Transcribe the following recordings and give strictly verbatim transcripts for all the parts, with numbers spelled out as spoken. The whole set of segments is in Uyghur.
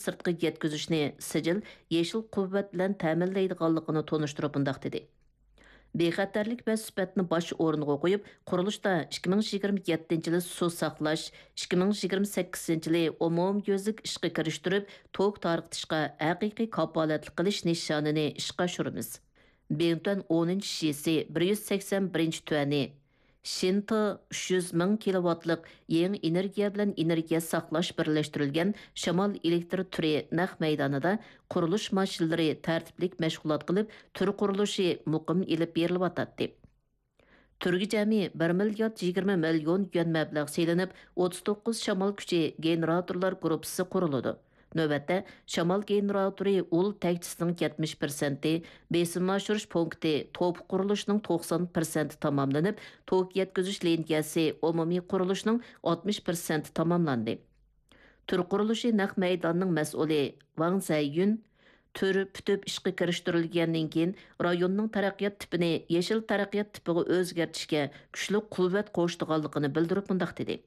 سىرتقا يەتكۈزۈشنى سىجىل يېشىل قۇۋۋەت بىلەن تەمىنلەيدىغانلىقىنى تونۇشتۇرۇپ مۇنداق دېدى: بىخەتەرلىك ۋە سۈپەتنى باش ئورۇنغا قويۇپ، قۇرۇلۇشتا ئىككى مىڭ يىگىرمە يەتتىنچى يىلى سۇ ساقلاش، ئىككى مىڭ يىگىرمە سەككىزىنچى يىلى ئومۇميۈزلۈك ئىشقا كىرىشتۈرۈپ، توك تارقىتىشقا ھەقىقىي كاپالەتلىك قىلىش نىشانىنى ئىشقا ئاشۇرىمىز. بىڭتۈەن ئونىنچى شىسى بىر يۈز سەكسەن بىرىنچى تۈەنى، شىنتې ئۈچ يۈز مىڭ كىلوۋاتلىق يېڭى ئېنېرگىيە بىلەن ئېنېرگىيە ساقلاش بىرلەشتۈرۈلگەن شامال ئېلېكتر تۈرى نەق مەيدانىدا قۇرۇلۇش ماشىنىلىرى تەرتىپلىك مەشغۇلات قىلىپ، تۈر قۇرۇلۇشى مۇقىم ئېلىپ بېرىلىۋاتاتتى. تۈرگە جەمئىي بىر مىليارد يىگىرمە مىليون يۈەن مەبلەغ سېلىنىپ، ئوتتۇز توققۇز شامال كۈچى گېنېراتورلار گۇرۇپپىسى قۇرۇلىدۇ. نۆۋەتتە، شامال گېنېراتورى ئۇل تەكچىسىنىڭ يەتمىش پىرسەنتى، بېسىم ئاشۇرۇش پونكىتى، توپا قۇرۇلۇشىنىڭ توقسان پىرسەنتى تاماملىنىپ، توك يەتكۈزۈش لىنىيەسى ئومۇمىي قۇرۇلۇشىنىڭ ئاتمىش پىرسەنتى تاماملاندى. تۈر قۇرۇلۇشى نەق مەيدانىنىڭ مەسئۇلى ۋاڭ زەييۈن، تۈر پۈتۈپ ئىشقا كىرىشتۈرۈلگەندىن كېيىن، رايوننىڭ تەرەققىيات تىپىنى يېشىل تەرەققىيات تىپىغا ئۆزگەرتىشكە كۈچلۈك قۇۋۋەت قوشىدىغانلىقىنى بىلدۈرۈپ مۇنداق دېدى: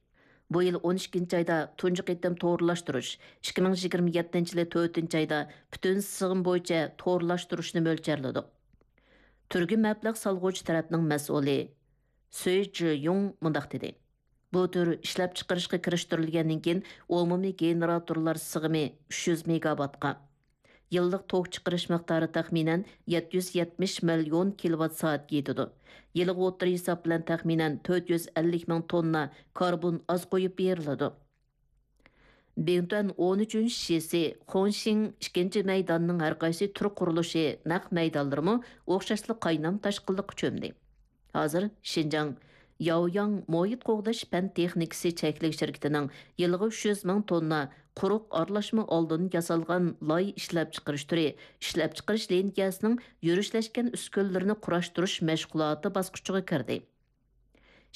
بۇ يىل ئون ئىككىنچى ئايدا تۇنجى قېتىم تورلاشتۇرۇش، ئىككى مىڭ يىگىرمە يەتتىنچى يىلى تۆتىنچى ئايدا پۈتۈن سىغىم بويىچە تورلاشتۇرۇشنى مۆلچەرلىدۇق. تۈرگە مەبلەغ سالغۇچى تەرەپنىڭ مەسئۇلى سۈي جىيۇڭ مۇنداق دېدى: بۇ تۈر ئىشلەپچىقىرىشقا كىرىشتۈرۈلگەندىن كېيىن، ئومۇمىي گېنېراتورلار سىغىمى ئۈچ يۈز مېگاۋاتقا، يىللىق توك چىقىرىش مىقدارى تەخمىنەن يەتتە يۈز يەتمىش مىليون كىلوۋات سائەتكە يېتىدۇ. يىلىغا ئوتتۇرا ھېساب بىلەن تەخمىنەن تۆت يۈز ئەللىك مىڭ توننا كاربون ئاز قويۇپ بېرىلىدۇ. بىڭتۈەن ئون ئۈچىنچى شىسى، خۇڭشىڭ ئىككىنچى مەيدانىنىڭ ھەرقايسى تۈر قۇرۇلۇشى نەق مەيدانلىرىمۇ ئوخشاشلا قاينام تاشقىنلىققا چۆمدى. ھازىر شىنجاڭ ياۋياڭ مۇھىت قوغداش پەن تېخنىكىسى چەكلىك شىركىتىنىڭ يىلىغا ئۈچ يۈز مىڭ توننا قۇرۇق ئارىلاشما ئالدىن ياسالغان لاي ئىشلەپچىقىرىش تۈرى ئىشلەپچىقىرىش لىنىيەسىنىڭ يۈرۈشلەشكەن ئۈسكۈنىلىرىنى قۇراشتۇرۇش مەشغۇلاتى باسقۇچىغا كىردى.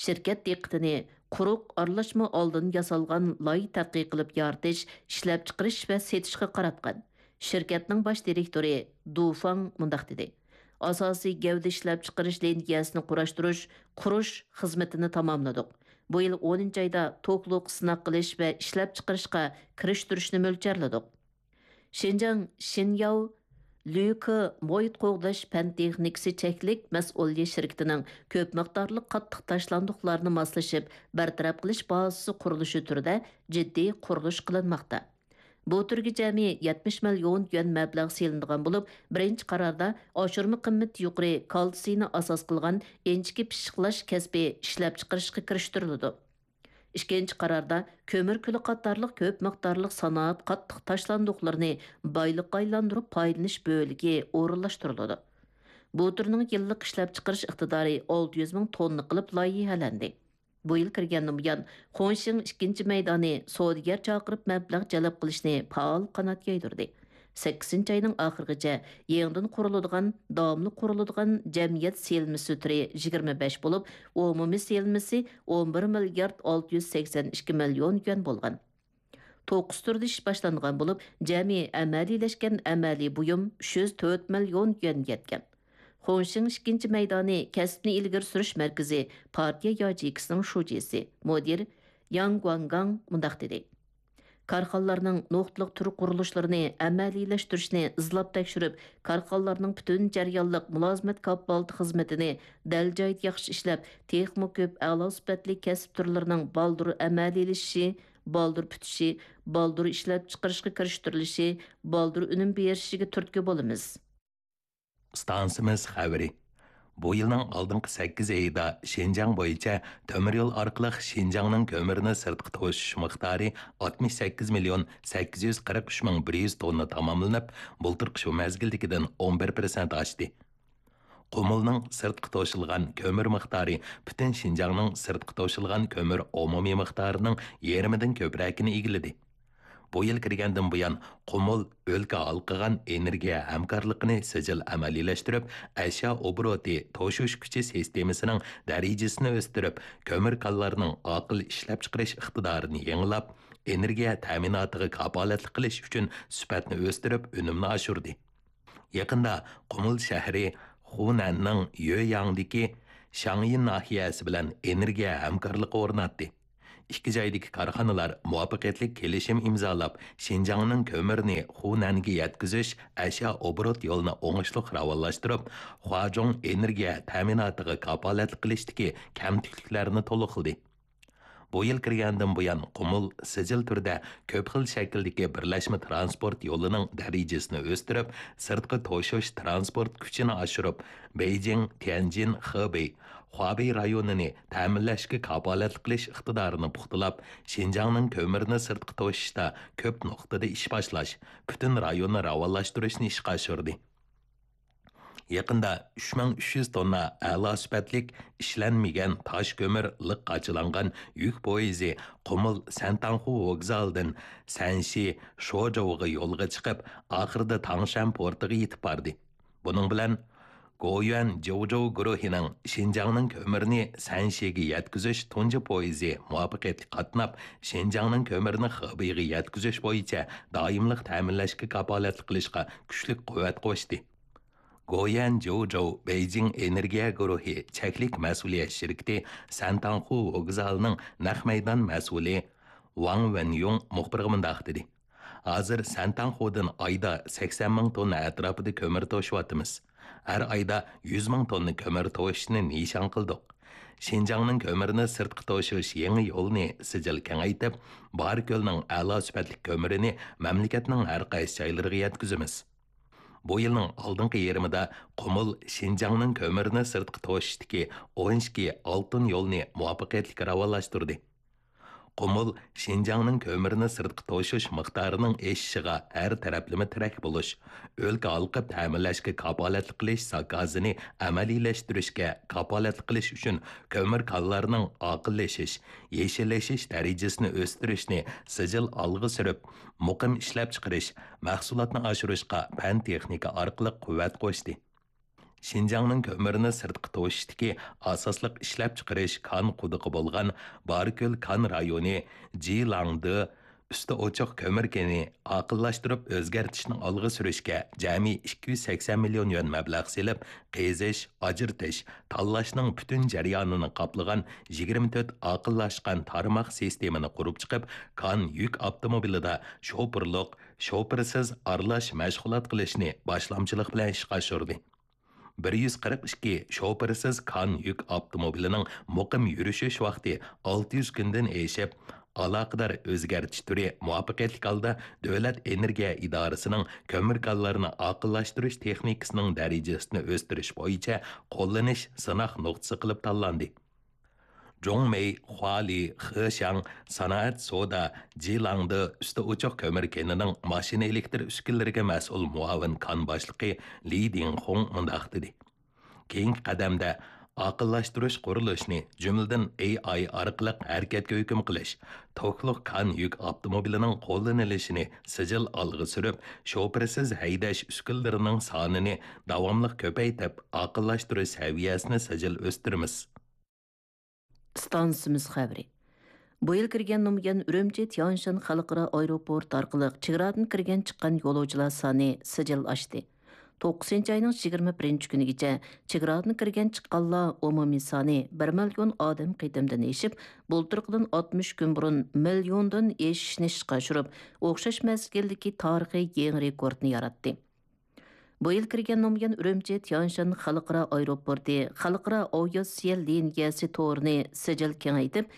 شىركەت دىققىتىنى قۇرۇق ئارىلاشما ئالدىن ياسالغان لاي تەتقىق قىلىپ يارىتىش، ئىشلەپچىقىرىش ۋە سېتىشقا قاراتقان. شىركەتنىڭ باش دىرېكتورى دۇ فاڭ مۇنداق دېدى: ئاساسىي گەۋدە ئىشلەپچىقىرىش لىنىيەسىنى قۇراشتۇرۇش، قۇرۇش خىزمىتىنى تاماملىدۇق. بۇ يىل ئونىنچى ئايدا توكلۇق سىناق قىلىش ۋە ئىشلەپچىقىرىشقا كىرىشتۈرۈشنى مۆلچەرلىدۇق. شىنجاڭ شىنياۋ لۈكې مۇھىت قوغداش پەن تېخنىكىسى چەكلىك مەسئۇلىيەت شىركىتىنىڭ كۆپ مىقدارلىق قاتتىق تاشلاندۇقلارنى ماسلىشىپ بىر تەرەپ قىلىش بازىسى قۇرۇلۇشى تۈرىدە جىددىي قۇرۇلۇش قىلىنماقتا. بۇ تۈرگە جەمئىي يەتمىش مىليون يۈەن مەبلەغ سېلىنىدىغان بولۇپ، بىرىنچى قاراردا ئاشۇرما قىممىتى يۇقىرى كالتسىينى ئاساس قىلغان ئىنچىكە پىششىقلاش كەسپى ئىشلەپچىقىرىشقا كىرىشتۈرۈلىدۇ. ئىككىنچى قاراردا كۆمۈر كۈلى قاتارلىق كۆپ مىقدارلىق سانائەت قاتتىق تاشلاندۇقلىرىنى بايلىققا ئايلاندۇرۇپ پايدىلىنىش بۆلىكى ئورۇنلاشتۇرۇلىدۇ. بۇ تۈرنىڭ يىللىق ئىشلەپچىقىرىش ئىقتىدارى ئالتە يۈز مىڭ توننا قىلىپ لايىھەلەندى. بۇ يىل كىرگەندىن بۇيان، خۇڭشىڭ ئىككىنچى مەيدانى سودىگەر چاقىرىپ مەبلەغ جەلپ قىلىشنى پائال قانات يايدۇردى. سەككىزىنچى ئاينىڭ ئاخىرىغىچە يېڭىدىن قۇرۇلىدىغان، داۋاملىق قۇرۇلىدىغان جەمئىيەت سېلىنمىسى تۈرى يىگىرمە بەش بولۇپ، ئومۇمىي سېلىنمىسى ئون بىر مىليارد ئالتە يۈز سەكسەن ئىككى مىليون يۈەن بولغان. توققۇز تۈردە ئىش باشلانغان بولۇپ، جەمئىي ئەمەلىيلەشكەن ئەمەلىي بۇيۇم ئۈچ يۈز تۆت مىليون يۈەنگە يەتكەن. خۇڭشىڭ ئىككىنچى مەيدانى كەسىپنى ئىلگىرى سۈرۈش مەركىزى پارتىيە ياچېيكىسىنىڭ شۇجىسى، مۇدىر ياڭ گۇاڭگاڭ مۇنداق دېدى: كارخانىلارنىڭ نۇقتىلىق تۈر قۇرۇلۇشلىرىنى ئەمەلىيلەشتۈرۈشنى ئىزلاپ تەكشۈرۈپ، كارخانىلارنىڭ پۈتۈن جەريانلىق مۇلازىمەت كاپالىتى خىزمىتىنى دەل جايىدا ياخشى ئىشلەپ، تېخىمۇ كۆپ ئەلا سۈپەتلىك كەسىپ تۈرلىرىنىڭ بالدۇر ئەمەلىيلىشىشى، بالدۇر پۈتۈشى، بالدۇر ئىشلەپچىقىرىشقا كىرىشتۈرۈلۈشى، بالدۇر ئۈنۈم بېرىشىگە تۈرتكە بولىمىز. ئىستانسىمىز خەۋىرى. بۇ يىلنىڭ ئالدىنقى سەككىز ئېيىدا شىنجاڭ بويىچە تۆمۈر يول ئارقىلىق شىنجاڭنىڭ كۆمۈرنى سىرتقا توشۇش مىقدارى ئاتمىش سەككىز مىليون سەككىز يۈز قىرىق ئۈچ مىڭ بىر يۈز توننا تاماملىنىپ، بۇلتۇرقى شۇ مەزگىلدىكىدىن ئون بىر پىرسەنت ئاشتى. قۇمۇلنىڭ سىرتقا توشۇلغان كۆمۈر مىقدارى پۈتۈن شىنجاڭنىڭ سىرتقا توشۇلغان كۆمۈر ئومۇمىي مىقدارىنىڭ يېرىمىدىن كۆپرەكىنى ئىگىلىدى. بۇ يىل كىرگەندىن بۇيان، قۇمۇل ئۆلكە ھالقىغان ئېنېرگىيە ھەمكارلىقىنى سىجىل ئەمەلىيلەشتۈرۈپ، ئەشيا ئوبوروتى توشۇش كۈچى سىستېمىسىنىڭ دەرىجىسىنى ئۆستۈرۈپ، كۆمۈر كانلارنىڭ ئاقىل ئىشلەپچىقىرىش ئىقتىدارىنى يېڭىلاپ، ئېنېرگىيە تەمىناتىغا كاپالەتلىك قىلىش ئۈچۈن سۈپەتنى ئۆستۈرۈپ، ئۈنۈمنى ئاشۇردى. يېقىندا قۇمۇل شەھىرى خۇنەننىڭ يۆياڭدىكى شاڭيىن ناھىيەسى بىلەن ئېنېرگىيە ھەمكارلىقى ئورناتتى. ئىككى جايدىكى كارخانىلار مۇۋەپپەقىيەتلىك كېلىشىم ئىمزالاپ، شىنجاڭنىڭ كۆمۈرىنى خۇنەنگە يەتكۈزۈش ئەشيا ئوبوروت يولىنى ئوڭۇشلۇق راۋانلاشتۇرۇپ، خۇاجۇڭ ئېنېرگىيە تەمىناتىغا كاپالەتلىك قىلىشتىكى كەمتۈكلۈكلەرنى تولۇقلىدى. بۇ يىل كىرگەندىن بۇيان، قۇمۇل سىجىل تۈردە كۆپ خىل شەكىلدىكى بىرلەشمە تىرانسپورت يولىنىڭ دەرىجىسىنى ئۆستۈرۈپ، سىرتقا توشۇش تىرانسپورت كۈچىنى ئاشۇرۇپ، بېيجىڭ، تيەنجىن، خېبېي، خۇابېي رايونىنى تەمىنلەشكە كاپالەتلىك قىلىش ئىقتىدارىنى پۇختىلاپ، شىنجاڭنىڭ كۆمۈرنى سىرتقا توشۇشتا كۆپ نۇقتىدا ئىش باشلاش، پۈتۈن رايوننى راۋانلاشتۇرۇشنى ئىشقا ئاشۇردى. يېقىندا ئۈچ مىڭ ئۈچ يۈز توننا ئەلا سۈپەتلىك ئىشلەنمىگەن تاش كۆمۈر لىق قاچىلانغان يۈك پويىزى قۇمۇل سەنتاڭخۇ ۋوگزالىدىن سەنشى شوجوۋغا يولغا چىقىپ، ئاخىرىدا تاڭشەن پورتىغا يېتىپ باردى. بۇنىڭ بىلەن گويۈەن جوجو گۇرۇھىنىڭ شىنجاڭنىڭ كۆمۈرىنى سەنشىگە يەتكۈزۈش تۇنجى پويىزى مۇۋەپپەقىيەتلىك قاتناپ، شىنجاڭنىڭ كۆمۈرىنى خېبېيغا يەتكۈزۈش بويىچە دائىملىق تەمىنلەشكە كاپالەتلىك قىلىشقا كۈچلۈك قۇۋۋەت قوشتى. گويۈەن جوجو بېيجىڭ ئېنېرگىيە گۇرۇھى چەكلىك مەسئۇلىيەت شىركىتى سەنتاڭخۇ ۋوگزالىنىڭ نەق مەيدان مەسئۇلى ۋاڭ ۋېنيۇڭ مۇخبىرغا مۇنداق دېدى: ھازىر سەنتاڭخۇدىن ئايدا سەكسەن مىڭ توننا ئەتراپىدا كۆمۈر توشۇۋاتىمىز. ھەر ئايدا يۈز مىڭ توننا كۆمۈر توشۇشنى نىشان قىلدۇق. شىنجاڭنىڭ كۆمۈرنى سىرتقا توشۇش يېڭى يولىنى سىجىل كېڭەيتىپ، بارىكۆلنىڭ ئەلا سۈپەتلىك كۆمۈرىنى مەملىكەتنىڭ ھەر قايسى جايلىرىغا يەتكۈزىمىز. بۇ يىلنىڭ ئالدىنقى يېرىمىدا قۇمۇل شىنجاڭنىڭ كۆمۈرنى سىرتقا توشۇشتىكى ئون ئىككى ئالتۇن يولىنى مۇۋەپپەقىيەتلىك راۋانلاشتۇردى. قۇمۇل شىنجاڭنىڭ كۆمۈرنى سىرتقا توشۇش مىقدارىنىڭ ئېشىشىغا ھەر تەرەپلىمە تىرەك بولۇش، ئۆلكە ھالقىپ تەمىنلەشكە كاپالەتلىك قىلىش زاكازىنى ئەمەلىيلەشتۈرۈشكە كاپالەتلىك قىلىش ئۈچۈن كۆمۈر كانلارنىڭ ئاقىللىشىش، يېشىللىشىش دەرىجىسىنى ئۆستۈرۈشنى سىجىل ئالغا سۈرۈپ، مۇقىم ئىشلەپچىقىرىش، مەھسۇلاتنى ئاشۇرۇشقا پەن-تېخنىكا ئارقىلىق قۇۋۋەت قوشتى. شىنجاڭنىڭ كۆمۈرنى سىرتقا توشۇشتىكى ئاساسلىق ئىشلەپچىقىرىش كان قۇدۇقى بولغان بارىكۆل كان رايونى جىلاڭدې ئۈستى ئوچۇق كۆمۈر كېنى ئاقىللاشتۇرۇپ ئۆزگەرتىشنى ئالغا سۈرۈشكە جەمئىي ئىككى يۈز سەكسەن مىليون يۈەن مەبلەغ سېلىپ، قېزىش، ئاجرىتىش، تاللاشنىڭ پۈتۈن جەريانىنى قاپلىغان يىگىرمە تۆت ئاقىللاشقان تارماق سىستېمىنى قۇرۇپ چىقىپ، كان يۈك ئاپتوموبىلىدا شوپۇرلۇق، شوپۇرسىز ئارىلاش مەشغۇلات قىلىشنى باشلامچىلىق بىلەن ئىشقا ئاشۇردى. بىر يۈز قىرىق ئىككى شوپۇرسىز كان يۈك ئاپتوموبىلىنىڭ مۇقىم يۈرۈشۈش ۋاقتى ئالتە يۈز كۈندىن ئېشىپ، ئالاقىدار ئۆزگەرتىش تۈرى مۇۋەپپەقىيەتلىك ھالدا دۆلەت ئېنېرگىيە ئىدارىسىنىڭ كۆمۈر كانلىرىنى ئاقىللاشتۇرۇش تېخنىكىسىنىڭ دەرىجىسىنى ئۆستۈرۈش بويىچە قوللىنىش سىناق نۇقتىسى قىلىپ تاللاندى. جۇڭمېي، خۇالى، خېشياڭ سانائەت سودا جىلاڭدې ئۈستى ئوچۇق كۆمۈر كېنىنىڭ ماشىنا ئېلېكتر ئۈسكۈنىلىرىگە مەسئۇل مۇئاۋىن كان باشلىقى لى دىڭخۇڭ مۇنداق دېدى: كېيىنكى قەدەمدە ئاقىللاشتۇرۇش قۇرۇلۇشىنى، جۈملىدىن ئېي ئاي ئارقىلىق ھەرىكەتكە ھۆكۈم قىلىش، توكلۇق كان يۈك ئاپتوموبىلىنىڭ قوللىنىلىشىنى سىجىل ئالغا سۈرۈپ، شوپۇرسىز ھەيدەش ئۈسكۈنىلىرىنىڭ سانىنى داۋاملىق كۆپەيتىپ، ئاقىللاشتۇرۇش سەۋىيەسىنى سىجىل ئۆستۈرىمىز. ئىستانسىمىز خەۋىرى. بۇ يىل كىرگەندىن بۇيان، ئۈرۈمچى تيانشان خەلقئارا ئايروپورت ئارقىلىق چېگرادىن كىرگەن چىققان يولۇچىلار سانى سىجىل ئاشتى. توققۇزىنچى ئاينىڭ يىگىرمە بىرىنچى كۈنىگىچە چېگرادىن كىرگەن چىققانلار ئومۇمىي سانى بىر مىليون ئادەم قېتىمدىن ئېشىپ، بۇلتۇرقىدىن ئاتمىش كۈن بۇرۇن مىليوندىن ئېشىشنى ئىشقا ئاشۇرۇپ، ئوخشاش مەزگىلدىكى تارىخىي يېڭى رېكورتنى ياراتتى. بۇ يىل كىرگەندىن بۇيان، ئۈرۈمچى تيانشان خەلقئارا ئايروپورتى خەلقئارا ئاۋىئاتسىيە لىنىيەسى تورىنى سىجىل كېڭەيتىپ،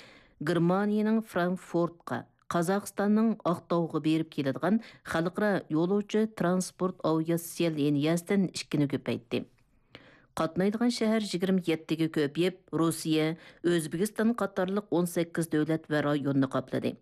گېرمانىيىنىڭ فرانكفورتقا، قازاقىستاننىڭ ئاقتاۋغا بېرىپ كېلىدىغان خەلقئارا يولۇچى ترانسپورت ئاۋىئاتسىيە لىنىيەسىدىن ئىككىنى كۆپەيتتى. قاتنايدىغان شەھەر يىگىرمە يەتتىگە كۆپىيىپ، روسىيە، ئۆزبېكىستان قاتارلىق ئون سەككىز دۆلەت ۋە رايوننى قاپلىدى.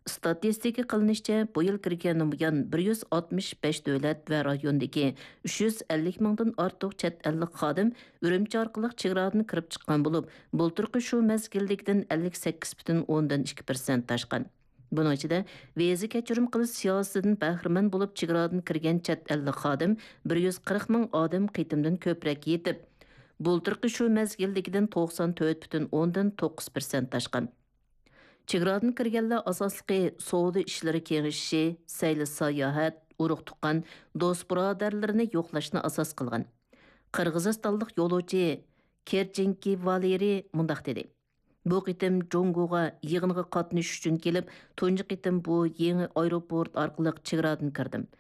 ئىستاتىستىكا قىلىنىشىچە، بۇ يىل كىرگەندىن بۇيان بىر يۈز ئاتمىش بەش دۆلەت ۋە رايوندىكى ئۈچ يۈز ئەللىك مىڭدىن ئارتۇق چەت ئەللىك خادىم ئۈرۈمچى ئارقىلىق چېگرادىن كىرىپ چىققان بولۇپ، بۇلتۇرقى شۇ مەزگىلدىكىدىن ئەللىك سەككىز پۈتۈن ئوندىن ئىككى پىرسەنت ئاشقان. بۇنىڭ ئىچىدە، ۋىزا كەچۈرۈم قىلىش سىياسىتىدىن بەھرىمەن بولۇپ چېگرادىن كىرگەن چەت ئەللىك خادىم بىر يۈز قىرىق مىڭ ئادەم قېتىمدىن كۆپرەك يېتىپ، بۇلتۇرقى شۇ مەزگىلدىكىدىن توقسان تۆت پۈتۈن ئوندىن توققۇز پىرسەنت ئاشقان. چېگرادىن كىرگەنلەر ئاساسلىقى سودا ئىشلىرى كېڭىشىشى، سەيلە ساياھەت، ئۇرۇق تۇغقان، دوست بۇرادەرلىرىنى يوقلاشنى ئاساس قىلغان. قىرغىزىستانلىق يولۇچى كېرچىنكى ۋالېرىي مۇنداق دېدى: بۇ قېتىم جۇڭگوغا يىغىنغا قاتنىشىش ئۈچۈن كېلىپ، تۇنجى قېتىم بۇ يېڭى ئايروپورت ئارقىلىق چېگرادىن كىردىم.